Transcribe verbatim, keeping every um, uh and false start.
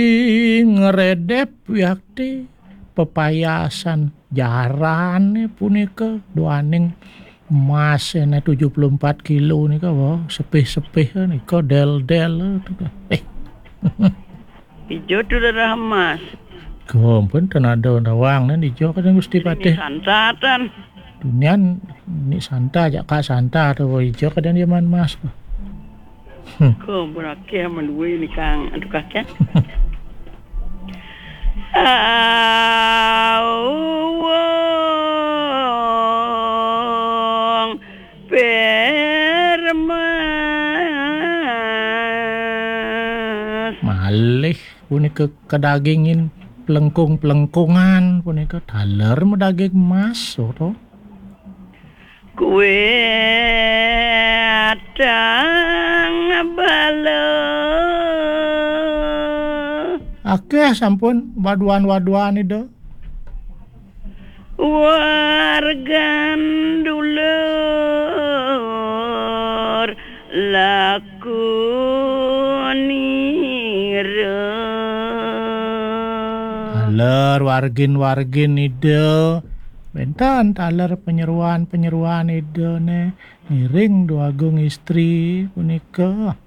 Ngredep yakti pepayasan jarane punika duaning emas ene tujuh puluh empat kilo nika, wah, sepih-sepih nika, del-del nika. Eh. Ijo tu darah emas. Kompun tenada nawang nen ijo kadang Gusti Patih. Santatan. Dunian ni santa, jak kak santa tu, wah, ijo kadang dia man emas. Hmm. Ko berake menduwe ni kang, aduh kakek. Awong permas. Malih punika kedagingin pelengkung-pelengkungan punika taler medaging emas, to. Kue atang bala. Akeh sampun waduan-waduan Ida. Wargan dulur lakunira. Taler wargin-wargin Ida. Wenten taler penyeruan-penyeruan Ida ne ngiring Dwagung Istri punika.